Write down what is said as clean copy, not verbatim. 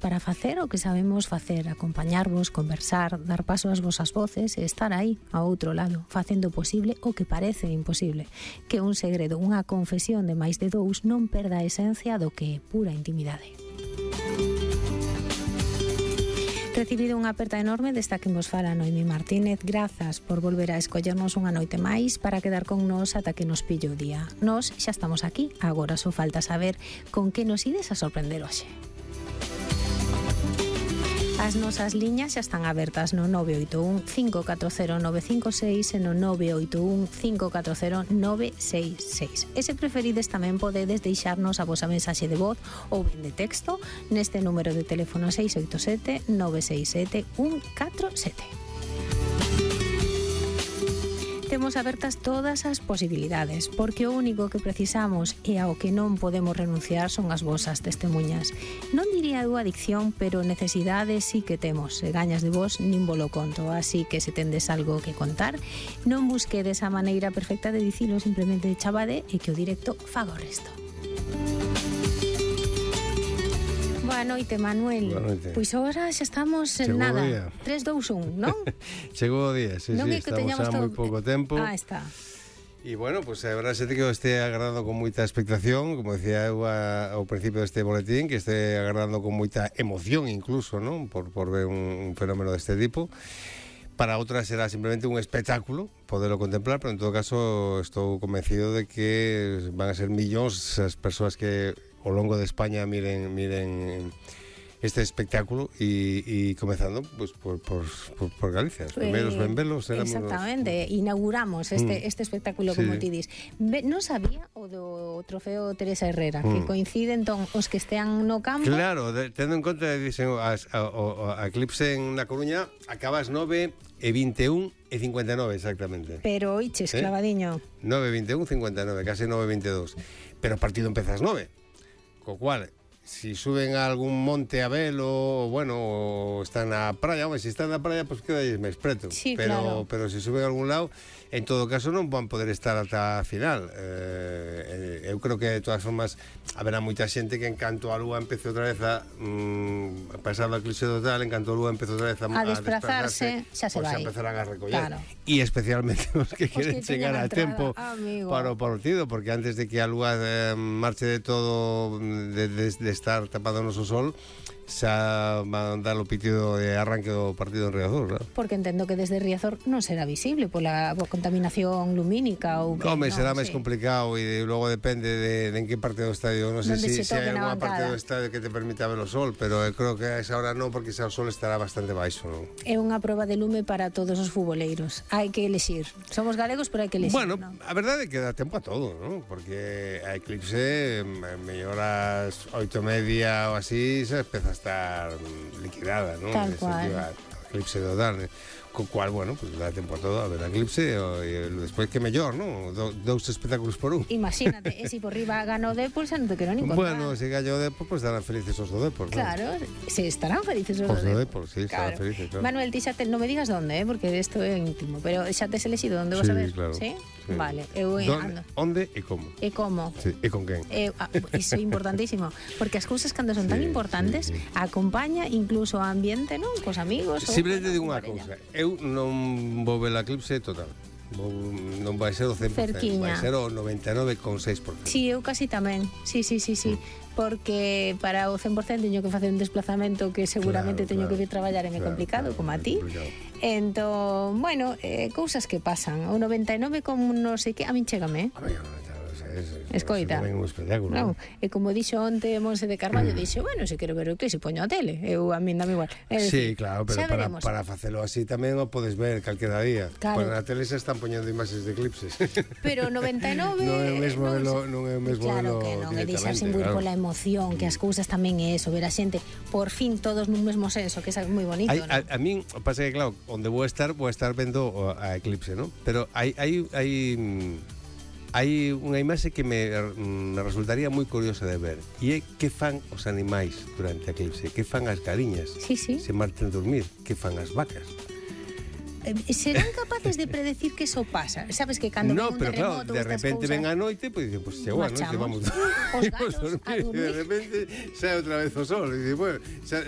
para facer o que sabemos facer, acompañarvos, conversar, dar paso ás vosas voces e estar aí, ao outro lado, facendo posible o que parece imposible. Que un segredo, unha confesión de máis de dous non perda a esencia do que é pura intimidade. Recibido unha aperta enorme desta que vos fala Noemi Martínez. Grazas por volver a escollernos unha noite máis para quedar con nos ata que nos pillo o día. Nos xa estamos aquí, agora só falta saber con que nos ides a sorprender hoxe. As nosas liñas xa están abertas no 981 540 956 e no 981 540 966. E se preferides tamén podedes deixarnos a vosa mensaxe de voz ou ben de texto neste número de teléfono 687 967 147. Temos abertas todas as posibilidades, porque o único que precisamos e ao que non podemos renunciar son as vosas testemunhas. Non diría eu adicción, pero necesidades sí que temos. Se gañas de vos, nin volo conto. Así que se tendes algo que contar, non busquedes a maneira perfecta de dicilo, simplemente chavade e que o directo faga o resto. Boa noite, Manuel. Boa noite. Pois agora xa estamos en nada. 3, 2, 1, non? Chegou o día, sí, non sí, estamos xa moi pouco tempo. Está. E bueno, pues a verdade é que eu este agardando con moita expectación, como decía eu ao principio deste boletín, que este agardando con moita emoción incluso, non? Por ver un fenómeno deste tipo. Para outras será simplemente un espectáculo poderlo contemplar, pero en todo caso estou convencido de que van a ser millóns as persoas que ao longo de España miren este espectáculo e comezando pues, por Galicia. Os primeiros benvelos éramos... Exactamente, inauguramos este espectáculo, como ti dis. Non sabía o do trofeo Teresa Herrera, que coincide entón os que estean no campo. Claro, tendo en conta, dicen, a Eclipse en Na Coruña acaba ás 9:21 e 59 exactamente. Pero oiches, clavadiño. 9:21, 59, casi 9:22. Pero o partido empeza ás 9. Co cual, si suben a algún monte a velo, bueno, o están na praia, hombre, si están na praia, pues queda máis preto. Sí, pero si suben a algún lado, en todo caso non van poder estar ata a final. Eu creo que de todas formas haberá moita xente que en canto a lúa empece outra vez a pasar a eclipse total, en canto a lúa empece outra vez a desplazarse, xa se vai. Xa empezarán a recoller. Claro. E especialmente os que queren chegar a tempo para o amigo. partido, porque antes de que a lúa marche de todo, de estar tapado no sol, xa van dar o pitido de arranque do partido en Riazor, claro. Porque entendo que desde Riazor non será visible pola contaminación lumínica ou que, Home, será máis complicado e logo depende de en que parte do estadio. Non sei se hai alguna parte do estadio que te permita ver o sol, pero creo que a esa hora non, porque xa o sol estará bastante baixo, non? É unha proba de lume para todos os futboleiros. Hai que elexir. Somos galegos, pero hai que elexir. Bueno, ¿no? a verdade é que dá tempo a todo, non? Porque a Eclipse mellor ás 8:30 ou así se empeza a estar liquidada, non? Tal cual. A Eclipse total, co cual, bueno, pues dá tempo a todo a ver a Eclipse e despois que mellor, non? Dous espectáculos por un. Imagínate, e se por riba gana o Depor, xa non te quero nin contar. Bueno, se gallo o Depor, pues estarán felices os do Depor, claro, se estarán felices os do Depor, sí, estarán felices, claro. Manuel, ti xa te, non me digas donde, porque isto é íntimo, pero xa tes elexido onde vas a ver? Claro. Sí? Sí. Vale, eu ando. Onde e como? E como? Sí, e con quen? Iso é importantísimo, porque as cousas cando son tan importantes, acompaña incluso o ambiente, non? Cos amigos. Simplemente digo unha cousa, eu non vou ver a Eclipse total. Non vai ser o 100%, Cerquiña. vai ser o 99,6%. Sí, eu casi tamén. Sí. Porque para o 100% teño que facer un desplazamento que seguramente teño que vir traballar e é complicado, como a ti. Entón, bueno, cousas que pasan. O 99 como non sei que, a min chégame, escoita. É un espectáculo. Non, e como dixo onte Monse de Carballo, dixo, bueno, se quero ver o que se poño a tele. Eu a min dame igual. Sí, claro, pero para facelo así tamén o podes ver calquera día. Claro. Pois na tele se están poñendo imaxes de eclipses. Pero 99 non é o mesmo claro que non, é deixarse imbuir pola emoción, que as cousas tamén é eso, ver a xente por fin todos nun mesmo senso, que é moi bonito, non? A min pasa que claro, onde vou estar vendo a eclipse, non? Pero hai unha imaxe que me resultaría moi curiosa de ver, e é que fan os animais durante a eclipse, que fan as galiñas, se marchen dormir, que fan as vacas. Serán capaces de predecir que eso pasa? Sabes que cando ven un terremoto, claro, de repente ven a noite, pois dicen, pues chegou a noite, vamos os gatos a dormir. De repente sae outra vez o sol, e dicen, bueno,